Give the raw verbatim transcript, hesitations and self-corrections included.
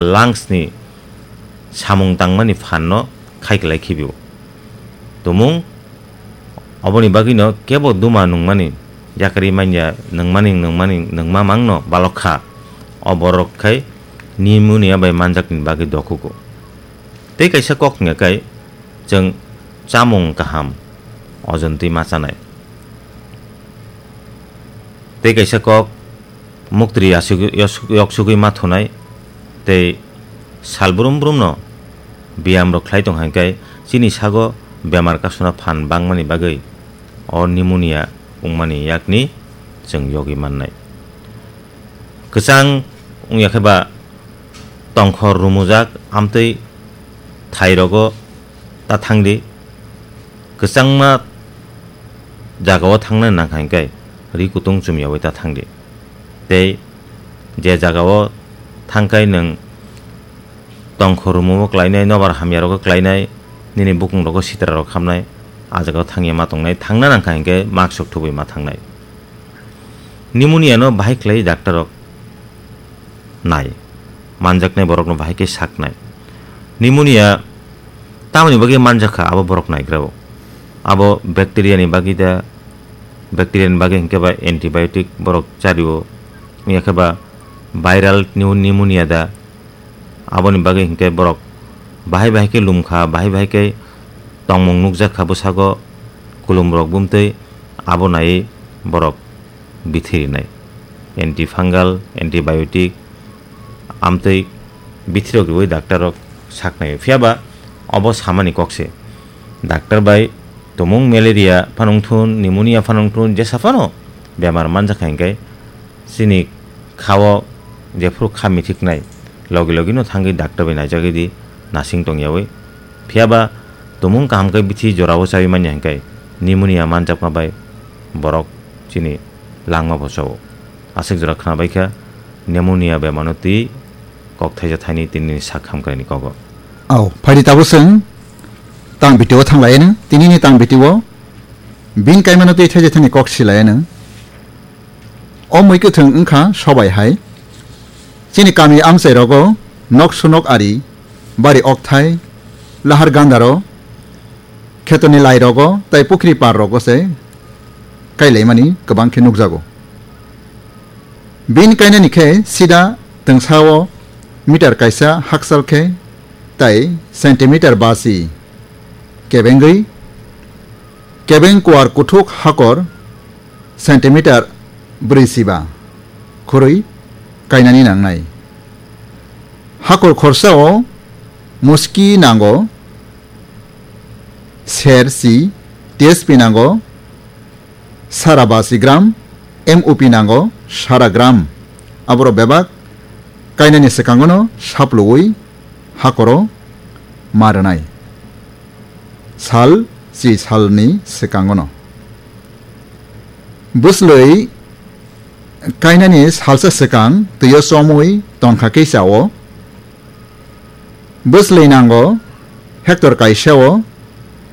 lungs ni samung tangmani phan no khai klai khibio. Tumung oboni bagwi no kebo duma nungmani, yakari manya nungmani, nungmani, nungma mang no balok kha. O borok khai pneumonia bai manjak ni bagwi dokugo. Tei kaisa kok wngya kai chwng chamung kaham ojontwi ma chanai. Tei kaisa kok muktri aswk-, yosuk-, yoksugwi ma thunai tei sal brum brumno biyamrok khlai tong hai khe chini sago bemar kasuna phan bangmani bagwi o pneumonia wngmani yakni chwng yogwi mannai. Kwchang wngya khe ba tongkhor rumujak amtwi thairogo ta thangdi. Kwchangma jagao thangna nang hai khe ri kutung chumyawi ta thangdi. Tei je jagao thangkai nwng tongkhor rumumo klainai, nobar hamyarogo klainai, nini bukungrogo sitrarok hamnai, a jagao thangya ma tongnai, thangna nang kha hinkhe mask rok thubui ma thangnai. Pneumonia no bahai khlai doctor rok nai, manjaknai borokno bahai khe saknai. Pneumonia tamoni bagwi manjak kha abo borok naigrao. Abo bacteria ni bagwi da, bacteria ni bagwi hinkhe ba antibiotic borok chario, wngya khe ba viral pneu-, pneumonia da, aboni bagwi hinkhe borok bahai bahai khe lumkha, bahai bahai khe tongmung nukjak kha bwsago, kulumrok bumtwi abo naiwi borok bithi rinai. Antifungal, antibiotic, amtwi bithirok riwi daktarrok saknai. Phiyaba obo samani kok se. Daktar bai tumung malaria phano wngthun, pneumonia phano wngthun, jesa phano bemar manjakha hinkhe chini khao jephuru kha mithiknai, logi logi no thangwi daktar bai naijagwi di, nasing tongyawi. Phiyaba tumung kaham khe bithi jorao chawi manya hinkhe pneumonia manjakma bai borok chini langma bo chao. Aswk jora khna bai kha pneumonia bemar no twi kok thaisa thaini tini sak hamkraini kogo. Au, phaidi tabuk chwng tang video thang lai nw, tini ni tang video bin kaimano twi thaisa thaini kok si lai nw. O mui kwthwng wngkha sobai hai. Chini kami amchai rogo nok sunok ari, bari okthai, lahar gandaro, khetorni lai rogo tai pukhri par rogo se kailaimani kwbang khe nukjago. Bini kainani khe sida twngsao meter kaisa hakchal khe tai centimeter basi kebengwi, kebeng kuar kuthuk hakor centimeter brwi siba khurui kainani nangnai. Hakor khorsao muski nango ser si, T S P nango sara basi gram, M O P nango sara gram. Aborok bebak kainani swkangono sapluwi hakoro ma rwnai. Sal chi salni swkangono. Bwslwi kainani salsa swkang twio chomwi tongkha kisa o. Bwslwi nango hectare kaisa o